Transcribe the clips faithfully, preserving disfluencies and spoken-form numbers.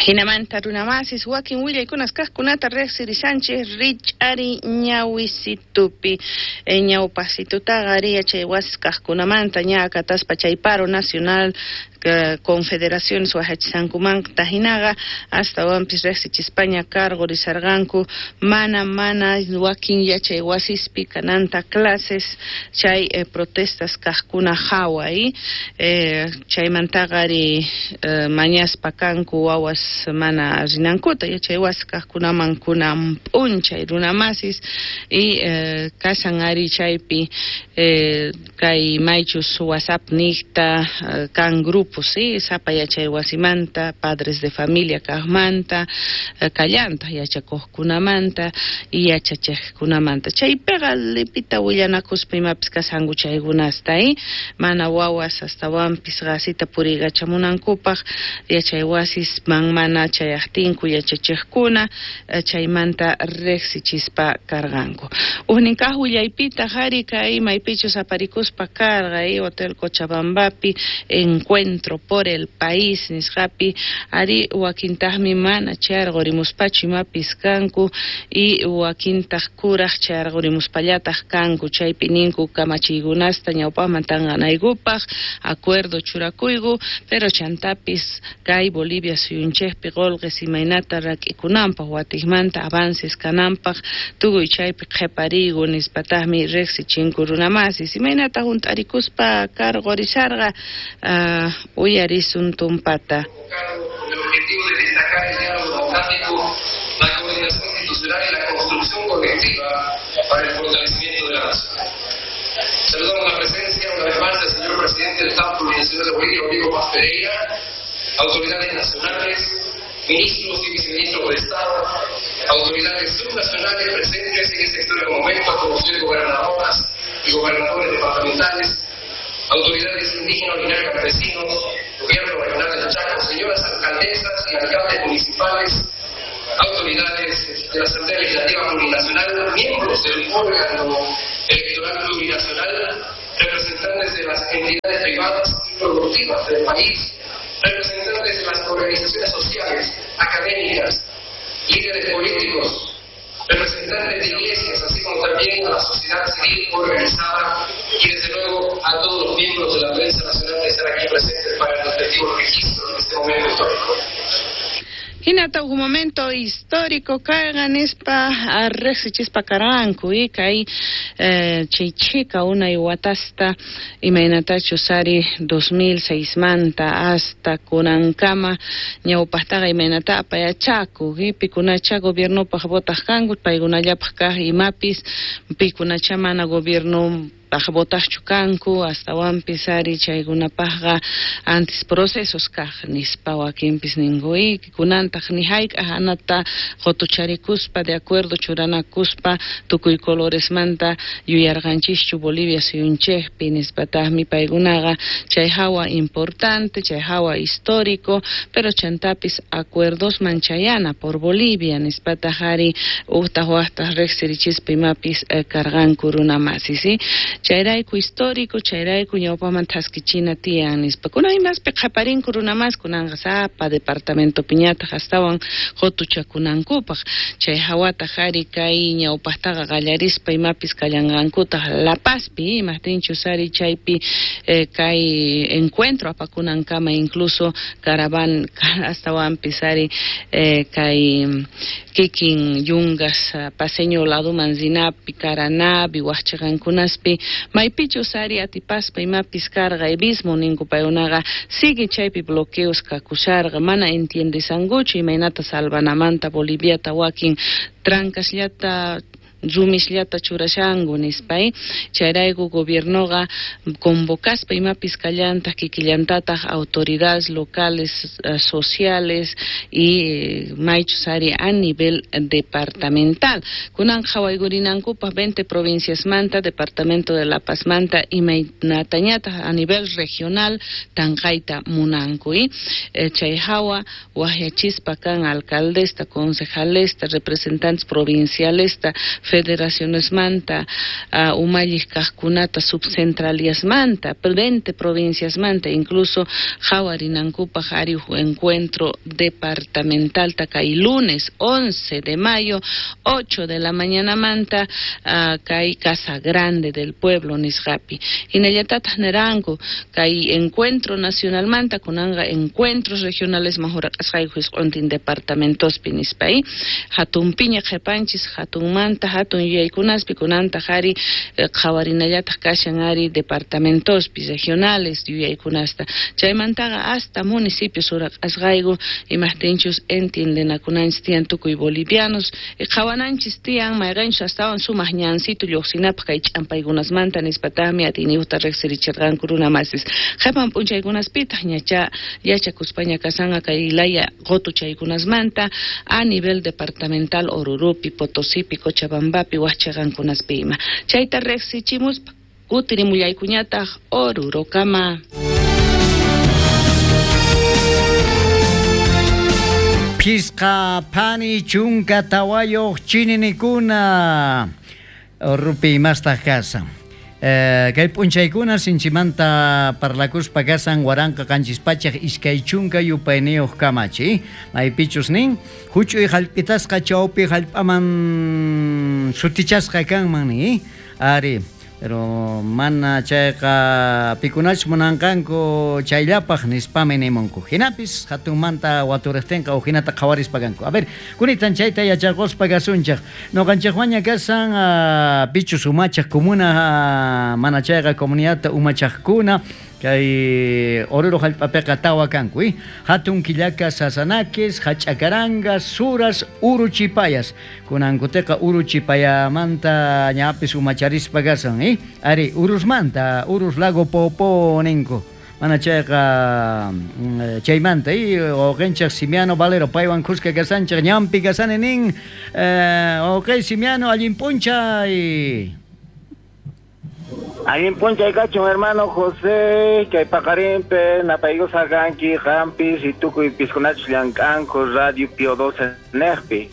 Hinamanta runamasis wakin willaykunas kaqkunata riqsirishanchik rich'ari ñawisitupi ñawpasitutaqa ari yachay wasis kaqkunamanta ña akataspa chay paro nacional confederaciones wahachisqankumanta hinaqa astawanpis riqsichispaña cargorisarqanku mana mana wakin yachay wasispi kananta clases chay eh, protestas kaqkuna hawa eh, chaymantaqa ari eh, mañaspa kanku wawas mana rinankuta yachay wasi kaqkunaman kunan p'unchay runamasis y eh, kashan ari chaypi eh, kay maychus WhatsApp niqta eh, kan grupo sí, sapa yachay wasimanta, padres de familia kaqmanta, kallanta yachakuqkunamanta y yachachiqkunamanta. Chaypiqa lipita willanakuspa imapis kashanku chaykunasta, eh? Mana wawas astawanpis qasita puriykachamunankupaq yachay wasisman mana chayaqtinku yachachiqkuna chaymanta riqsichispa karqanku. Ujnin kaq willaypitaq ari kay maypichus aparikuspa karqa, eh? Hotel Cochabambapi encuentro por el país nisqapi ari wakintaqmi mana chayarqurimuspachu imapis kanku y wakintaq kuraq chayarqurimuspallataq kanku chaypi ninku kamachiykunasta ñawpaqman tanqanaykupaq acuerdo churakuyku pero chantapis kay Bolivia suyunchikpi qullqis imaynata rak'ikunanpaq watiqmanta avances kananpaq tukuy chaypi qhipariyku nispataqmi riqsichinku runamasis imaynata hunt'arikuspa karqurisharqa uh, uyarisun tumpata. Con el objetivo de destacar el diálogo democrático, la coordinación institucional y la construcción colectiva para el fortalecimiento de la nación. Saludamos la presencia una vez más del señor presidente del Estado Plurinacional de Bolivia, Rodrigo Paz Pereira, autoridades nacionales, ministros y viceministros de Estado, autoridades subnacionales presentes en este histórico momento, como señores gobernadoras y gobernadores departamentales, autoridades indígenas, originarias, campesinos, gobierno regional del Chaco, señoras alcaldesas y alcaldes municipales, autoridades de la Asamblea Legislativa Plurinacional, miembros del órgano electoral plurinacional, representantes de las entidades privadas y productivas del país, representantes de las organizaciones sociales, académicas, líderes políticos, representantes de iglesias, así como también a la sociedad civil organizada y desde luego a todos los miembros de la prensa nacional que están aquí presentes para el respectivo registro de este momento histórico. Hinata un momento histórico kayqa nispa riqsichispa karqanku y kay eh, chay chhika unay watasta imaynatachus ari dos mil seis manta hasta kunankama ñawpaqtaqa imaynata apayachaku y pikunacha gobiernopaq votaq kanku paykunallapaq kaq imapis pikunacha mana gobierno votaqchu kanku astawanpis ari chaykunapaqqa antes procesos kaq nispa wakinpis ninku y kunantaq ni hayk'aq anata qutucharikuspa de acuerdo churanakuspa tukuy coloresmanta yuyarqanchischu Bolivia suyunchikpi nispataqmi paykunaqa chay hawa importante chay hawa histórico pero chantapis acuerdosman chayana por Bolivia nispataq ari uqtaq waqtaq riqsirichispa imapis eh, karqanku runamasi, ¿sí? Chayrayku histórico, chayrayku ñawpaman thaskichina tiyan nispa. Kunan imaspi qhaparinku runamas kunanqa sapa departamento piñataq astawan qutuchakunankupaq. Chay hawataq ari kay ñawpaqtaqa qallarispa imapis kallanqankutaq La Pazpi, imaqtinchus ari chaypi eh, kay encuentro apakunankama incluso caravan astawanpis ari eh, kay kikin yungas paseño laduman rinapi Caranapi waqchiqankunaspi maypichus ari atipaspa imapis karqa evismo ninku paykunaqa sigue chaypi bloqueos kakusharqa mana entiendesankuchu imaynata salvanamanta Boliviata wakin trancasllata rumisllata churashanku nispa, eh? Chayrayku gobiernoqa convocaspa imapis kallantaq kikillantataq autoridades locales, eh, sociales y eh, maychus ari a nivel departamental. Kunan qhawaykurinankupaq veinte provincias manta, departamento de La Paz manta imaynatañataq a nivel regional tanqayta munanku, eh? Eh, chay hawa waqyachispa kan alcaldesta, concejalesta, representantes provincialesta, federaciones manta uh, umalliq kaqkunata subcentraliasmanta veinte provinciasmanta incluso qhawarinankupaq ari huk encuentro departamental kay lunes once de mayo ocho de la mañana manta uh, kay Casa Grande del Pueblo nisqapi hinallatataq niranku kay encuentro nacional manta kunanqa encuentros regionales mahuraqasqayku hisq'untin departamentospi nispa hatunpiña qhipanchis hatunmanta hatun yuyaykunaspi kunantaq ari qhawarinallataq kashan ari departamentospi regionales yuyaykunasta chaymantaqa hasta municipios uraqasqayku imaqtinchus entiendenakunanchis tiyan tukuy bolivianos qhawananchis tiyan mayqanchus astawan sumaq ñansito lluqsinapaq kay ch'ampaykunasmanta nispataqmi atiyniyuqta riqsirichirqanku runa masis qhipan p'unchaykunaspitaq ñacha yachakuspaña kasanqa kay laya qutuchaykunasmanta a nivel departamental Orurupi, Potosipi, Cochabambapi, waqchaqankunaspi ima chayta riqsichimuspa kutirimullaykuñataq Orurokama. Pisqa pani chunka tawayuq chininikuna Orupi imastaq kasan. Eh, kay p'unchaykuna sinchimanta parlakuspa kasan waranqa qanchis pachaq iskay chunka yupayniyuq kamachi maypichus nin huch'uy hallp'itasqa chawpi hallp'aman sutichasqa kanman ni ari pero mana chayqa pikunachus munanqanku chayllapaq nispami nimunku hinapis hatunmanta waturiqtinqa uhinata qhawarispa kanku. A ver, kunitan chayta yacharquspa kasunchaq nuqanchaqwaña kasan uh, pichus umachaq comuna uh, mana chayqa comunidadta umachaqkuna kay Oruro hallp'apiqa tawa kanku eh? Hatun Killaka Sasanakis, Hach'akarangas, Suras, Uruchipayas kunankutiqa Uruchipayamanta ñapis umacharispa kasan eh? Ari Urusmanta, Urus Lago Popo ninku mana chayqa chaymanta eh? Wawqinchaq Simiano Valero paywan kuska kasanchaq ñampi kasani nin eh, wawqi Simiano allin p'unchay. Allin p'unchay kachun hermano José, kay paqarinpi napaykusa kanki qampis y tukuy piskunachus llank'anku Radio Pio doce neqpi.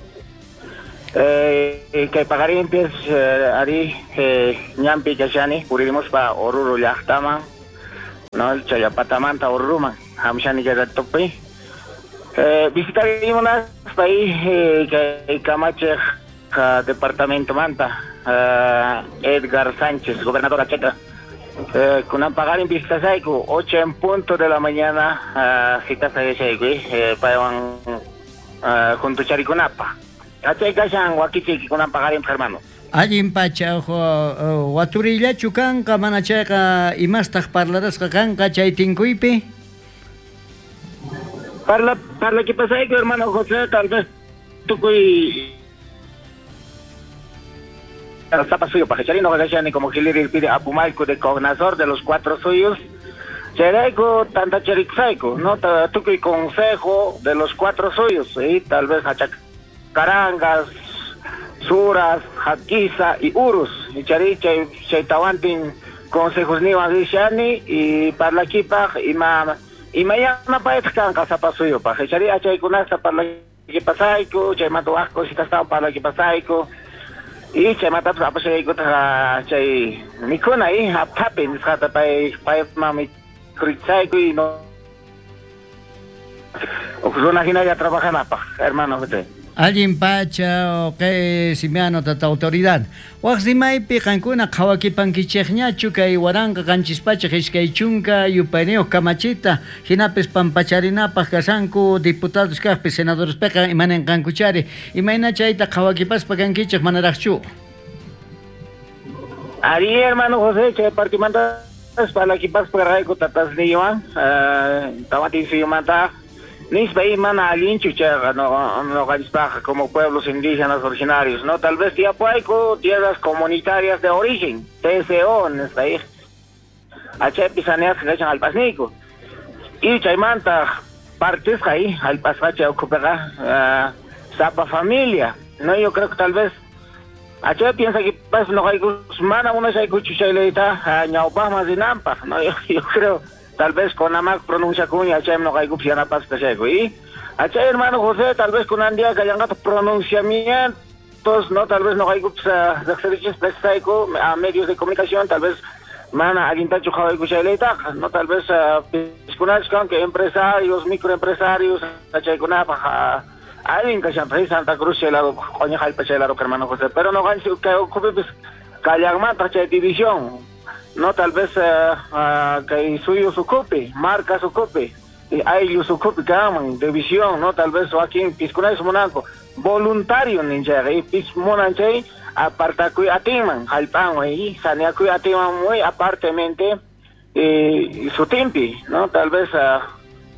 Eh, kay paqarinpis eh, ari eh, ñampi kashani puririmuspa Oruro llaqtaman, no Chayapatamanta Oruruman hamshani kay ratopi. Eh, visitarimunaspa eh, kay kamachiq departamento manta Uh, Edgar Sánchez, gobernador Acheta. Eh, kunan paqarin vistasayku ocho en punto de la mañana uh, citasayku eh, paywan uh, juntucharikunapa. Achay kashan wakichiki kunan paqarin hermano. Allin pacha uh, waturillachu kanqa mana chayqa imastaq parlarasqa kanqa chay tinkuypi? Parla parla que pasayku hermano José, tal vez tukuy Zapa suyo, Pajecharino, Gagashani, como Giliri pide Apumalco de Cognazor de los cuatro suyos, Chereco, Tantachericsaico, ¿no? Tucuy consejo de los cuatro suyos, ¿sí? Tal vez Hachacarangas, Suras, Jaquiza y Urus, y Charicha y Chaitahuantin, consejos Niwan Gishani, y Parlaquipaj, y ma, y mañana Paetcanca, Zapa suyo, Pajechari, Achaycunasta, Parlaquipasaico, Chaymatuasco, Citastao, Parlaquipasaico. Y chaymatapas apashaykuta chay mikhuna y aphapi nisqata pay payman mikhurichayku y no runa hinalla trabajanapaq hermano José. Allin pacha kay Simiano tata autoridad. Waq rimaypi qankuna qhawakipankichikñachu kay waranqa qanchis pachaq iskay chunka yupayniyuq kamachita hinapis pampacharinapaq kasanku diputados kaqpi senadorespiqa imaninqankuchari imayna chayta qhawakipaspa kankichik manaraqchu. Ari hermano José chay partimanta parlakipaspa rayku tatasniywan tawantinsuyumanta Nispa mana allinchu chayqa no noqanchispaqqa como pueblos indígenas originarios, no tal vez tiapuayku tierras comunitarias de origen, T C O nispa achaypi saneasqa kashan hallp'asniyku y chaymanta partisqa ahí hallp'asqa chay ukhupiqa uh, sapa familia, no yo creo que tal vez achay piensa que pas noqayku mana munashaykuchu chay leyta ñawpaqman rinanpaq, no yo, yo creo tal vez con amac pronuncia cuña, achay no caigo piana pasta seco y achay hermano José, tal vez con andía que pronunciamiento No, tal vez no hay a medios de comunicación, tal vez mana allintachu qhawayku chaylaytaqa, no, tal vez piskunachkan que empresarios, microempresarios, chaykunapaq allin kashan Santa Cruz chay lado, q'uñi jallp'a chay lado, hermano José, pero no kay ukhupipis kallanmantaq chay división, no, tal vez kay suyu ukhupi, marcas ukhupi, ayllus ukhupi kanman división, no, tal vez wakin piskunachis munanku voluntario ninchayqa y pis munan chay apartakuy atinman jallp'anwan y saneakuy atinman muy apartemente eh, sutinpi, no, tal vez uh,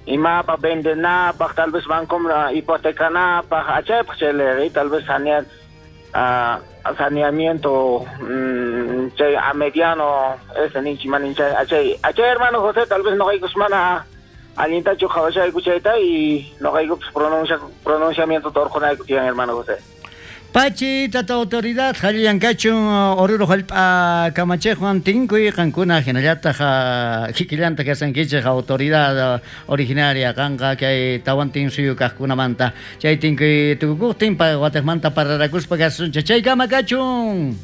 imapaq vendenapaq, tal vez bancoman hipotecanapaq, achaypaq chay tal vez sanear uh, saneamiento mm, chay a mediano ese ninchiman ninchay achay achay hermano José, tal vez no hay mana allintachu qhawashayku chayta y noqayku pronuncia pronunciamiento torqunayku tiyan hermano José. Pachi, tata autoridad, jallillankachun Oruro jallp'a kamachiqwan tinkuy qankuna hinallataq kikillanta kasankichik autoridad originaria qanqa kay tawantin suyu kaqkunamanta chay tinkuy tukukuqtin watiqmanta pararakuspa kasunchik chaykama kachun.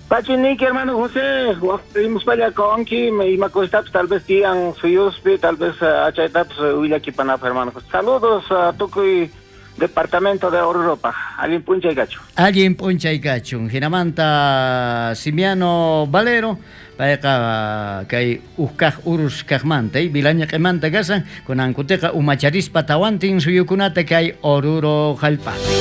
Pachi niki hermano José, waqtimuspalla konki ima cositapis tal vez tiyan suyuspi, tal vez achaytapis willakipanapaq hermano José. Saludos a tukuy departamento de Oruro-paq. Allin p'unchay kachun. Allin p'unchay kachun. Hinamanta Simiano Valero, payqa kay ukkaq urus kaqmanta, Vilañaq'imanta kasan, kunankutiqa umacharispa tawantin suyukunata kay Oruro jallp'api.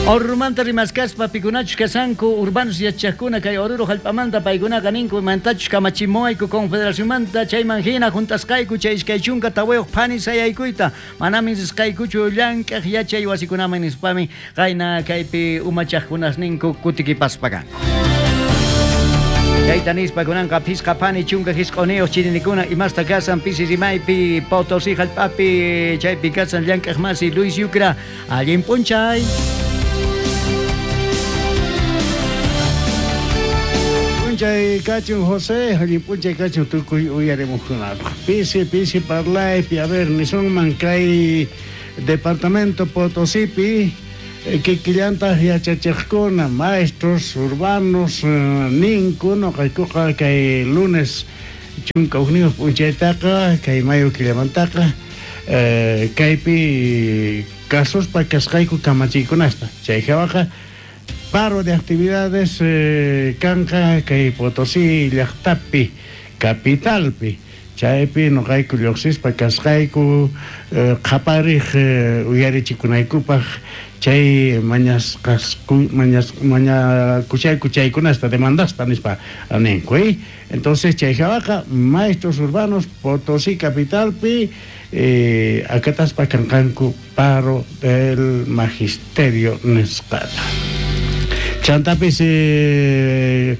Orurumanta rimaskaspa pikunachus kasanku urbanos yachaqkuna kay Oruro jallp'amanta paykunaqa ninku imantachus kamachimuwayku confederacionmanta chayman hina juntasqayku chay iskay chunka tawayuq phani sayaykuyta manami risqaykuchu llank'aq yachay wasikunaman nispami qayna kaypi umachaqkunas ninku kutikipaspa kanku. Chayta nispa kunanqa phisqa phani chunka hisq'uniyuq chirinikuna imasta kasan pisi rimaypi Potosí jallp'api chaypi kasan llank'aq masi Luis Yucra allin p'unchay. P'unchay kachun José, allin p'unchay kachun tukuy uyarimuqkunapaq. Pisi pisi parlaypi, a ver, nisunman kay departamento Potosípi kikillantaq yachachiqkuna, maestros urbanos ninku noqaykuqa kay lunes chunka hukniyuq p'unchaytaqa kay mayo killamantaqa eh, kaypi kasuspa kasqayku kamachiykunasta chay hawaqa paro de actividades eh, kanqa kay Potosí llaqtapi capitalpi chaypi noqayku lluqsispa kasqayku eh, qhapariq eh, uyarichikunaykupaq chay mañasqasku mañas mañakuchayku chaykunasta demandasta nispa ninku eh? Entonces chay hawaqa maestros urbanos Potosí capitalpi eh, akataspa kanqanku paro del magisterio nisqata. Chantapis eh,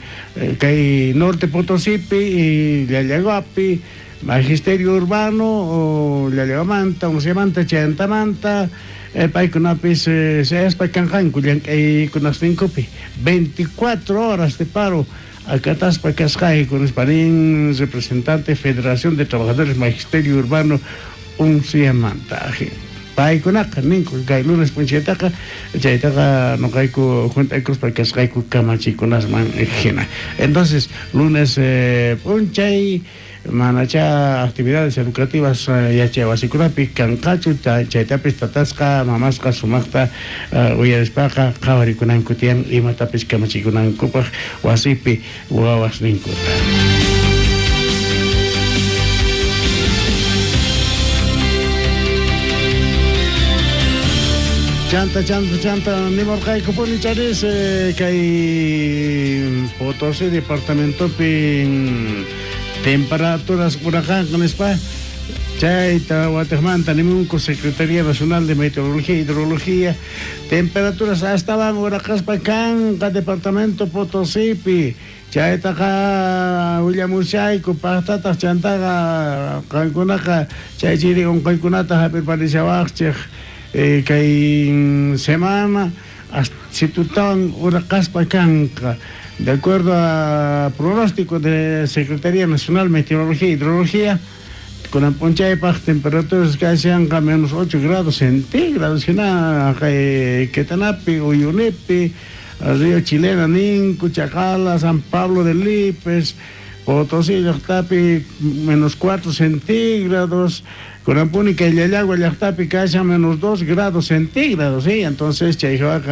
kay Norte Potosípi y Llallaguapi magisterio urbano o Llallaguamanta, Unciamanta, Chantamanta eh, paykunapis eh, sayaspa kanqanku llank'aykunasninkupi veinticuatro horas de paro akataspa kasqayku nispa nin representante Federación de Trabajadores Magisterio Urbano Unciamanta. Paykunaqa ninku kay lunes p'unchaytaqa chaytaqa noqayku juntaykuspa kasqayku kamachikunasman hina. Entonces lunes eh, p'unchay manacha actividades educativas eh, yachay wasikunapi kanqachu chaytapis tatasqa mamasqa sumaqta uh, uyarispaqa qhawarikunanku tiyan imatapis kamachikunankupaq wasipi wawasninkuta. Chanta, chanta, chanta, nimurqaykupuni charis eh, kay Potosí departamentopi temperaturas uraqanqa nispa chayta watiqmanta nimunku Secretaría Nacional de Meteorología e Hidrología temperaturas astawan uraqaspa kanqa departamento Potosípi chaytaqa willamushayku paqtataq chantaqa qankunaqa chay chiri unquykunata hap'irparishawaqchik Eh, kay semana situtan uraqaspa kanqa de acuerdo a pronóstico de Secretaría Nacional Meteorología e Hidrología Kunan p'unchaypaq temperaturas kashanqa menos ocho grados centígrados hina kay Quetanapi, Uyunipi, Río Chilena ninku, Chacala, San Pablo de Lipes, Potosí llaqtapi menos cuatro centígrados, Kunampuni kay Llallagua llaqtapi kashan menos dos grados centígrados, ¿sí? Entonces chayqa